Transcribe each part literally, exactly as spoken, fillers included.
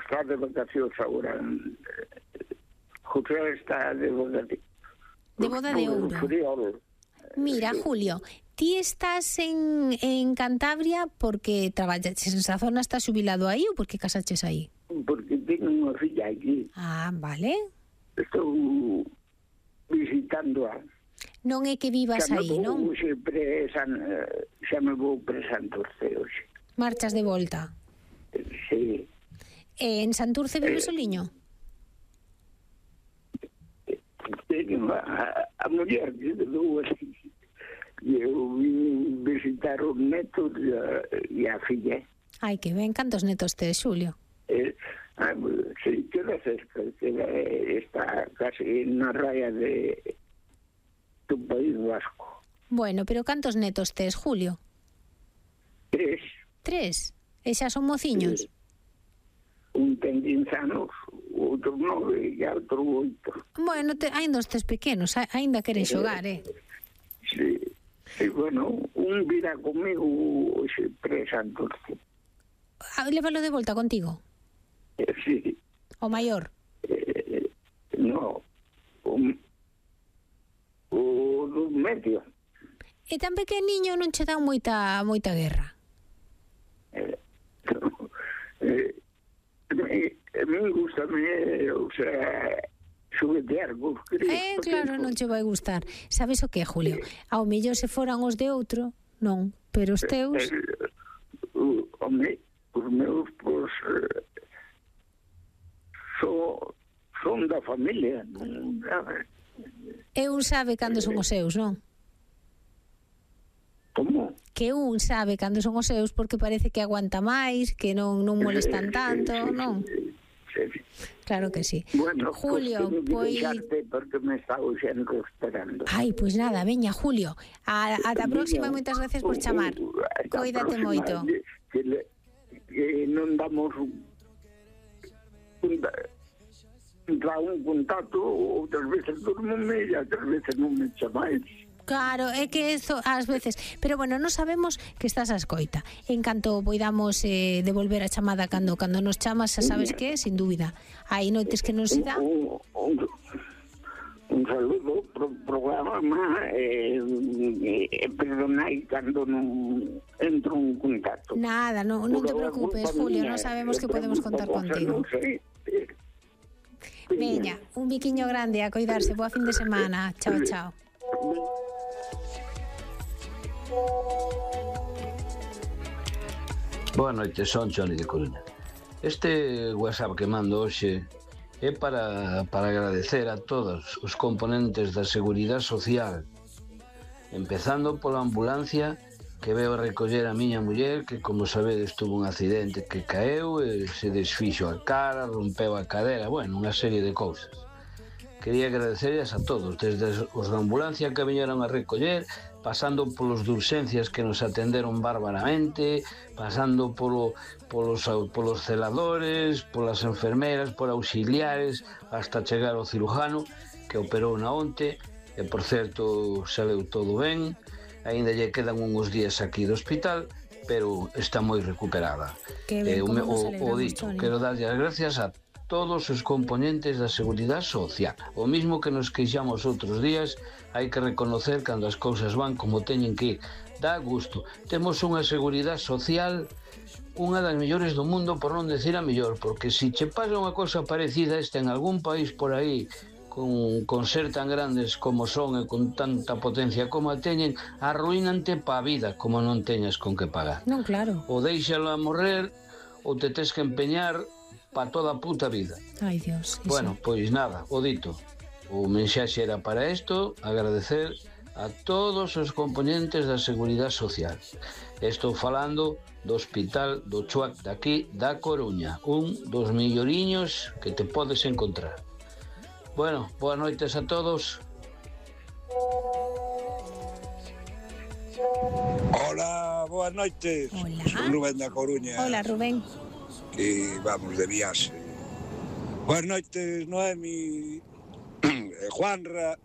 está de vacacións agora. José está de boda de... De boda de ouro. Friol. Mira, Julio, ti estás en, en Cantabria porque traballas en esa zona, estás xubilado aí ou porque casaches aí? Porque tengo unha filla aquí. Ah, vale. Estou visitando a... Non é que vivas aí, non? Xa me vou pre Santurce hoxe. Marchas de volta. Sí. E en Santurce vive eh, soliño? Teño a, a muller que dou así. Eu vim visitar os netos e a filla. Ai, que ben. Cantos netos tes, Xulio? Eh, ah, sí, queda cerca. Queda, está casi na raya de... do País Vasco. Bueno, pero cantos netos tes, Julio? Tres. Tres? E xa son mociños? Sí. Un ten quince anos, outro nove e outro oito. Bueno, te, ainda os tes pequenos, ainda queren xogar, eh? Sí. E, bueno, un virá comigo hoxe pre Santurce. Lévalo de volta contigo? Eh, sí. O maior? Eh, no, o... o do medio. E tan pequeniño non che dá moita moita guerra? Eh, eh, me, me gusta, me, o sea, xuguetear cos críos. Eh, claro, non che vai gustar. Sabes o que, Julio? Ao mellor se foran os de outro, non, pero os teus... Eh, uh, home, os meus, pois, eh, so, son da familia, non? E un sabe cando son os seus, non? Como? Que un sabe cando son os seus porque parece que aguanta máis, que non non molestan tanto, non? Sí, sí. Claro que sí. Bueno, Julio, pois... pois... porque me está xendo esperando. Ai, pois nada, veña, Julio. A, ata a próxima e moitas gracias por chamar. Coídate moito. Que, le, que non damos un, un, un contacto, outras veces dormome e outras veces non me chamáis. Claro, é que eso ás veces, pero bueno, non sabemos que estás a escoita. En canto poidamos eh, devolver a chamada cando cando nos chamas, xa sabes que, sin dúbida, hai noites que non se dá. Un, un, un saludo pro programa e eh, eh, perdonai cando non entro en contacto. Nada, non, non te preocupes, Julio, non sabemos que podemos contar contigo. Veña, un biquiño grande, a coidarse, boa fin de semana. Chao, chao. Boa noite, son Johnny de Coruña. Este WhatsApp que mando hoxe é para, para agradecer a todos os componentes da Seguridade Social, empezando pola ambulancia que veo recoller a miña muller, que, como sabedes, tuvo un accidente que caeu e se desfixo a cara, rompeu a cadera, bueno, unha serie de cousas. Quería agradecerles a todos, desde os da ambulancia que viñeron a recoller, pasando polos de urxencias que nos atenderon bárbaramente, pasando polo, polos, polos celadores, polas enfermeras, por auxiliares, hasta chegar ao cirujano, que operou na onte, e, por certo, saleu todo ben, aínda lle quedan uns días aquí do hospital, pero está moi recuperada. Que ben, eh, o, como nos o, o dito, Toni. quero darlle as gracias a todos os componentes da Seguridade Social. O mismo que nos queixamos outros días, hai que reconocer cando as cousas van como teñen que ir. Dá gusto. Temos unha Seguridade Social unha das mellores do mundo, por non decir a mellor, porque se che pasa unha cosa parecida a esta en algún país por aí, con, con ser tan grandes como son e con tanta potencia como a teñen, arruínante pa vida como non teñas con que pagar. Non, claro. Ou deixalo a morrer, ou te tes que empeñar para toda a puta vida. Ai, Dios. Bueno, pois nada, o dito. O mensaxe era para isto, agradecer a todos os componentes da Seguridade Social. Estou falando do Hospital do Chuac daqui da Coruña, un dos melloriños que te podes encontrar. Bueno, boas noites a todos. Hola, boas noites. Hola. Son Rubén da Coruña. Hola, Rubén. Que vamos de viaxe. Boas noites, Noemi, Juanra,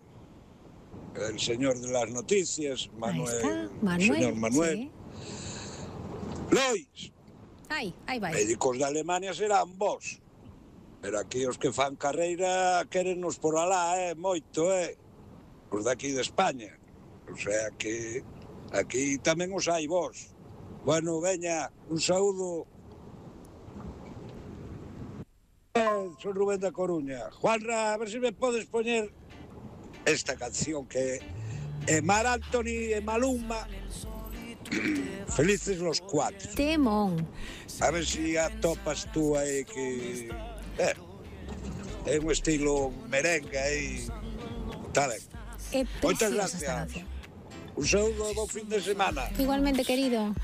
el señor de las noticias, Manuel, Manuel, señor Manuel. Sí. Lois, Ai, aí vai. médicos de Alemania serán vos. Pero aquí os que fan carreira querennos por alá, eh, moito, eh. Os daqui de España. O sea que aquí tamén os hai vos. Bueno, veña, un saúdo. Eh, son Rubén da Coruña. Juanra, a ver se me podes poñer esta canción que é Mar Anthony e Maluma. Felices los cuatro. Temón. A ver si atopas tú aí que... Eh, é un estilo merengue aí. Está ben. É Moitas preciosa esta gracias. canción. Un saúdo e bo fin de semana. Igualmente, querido.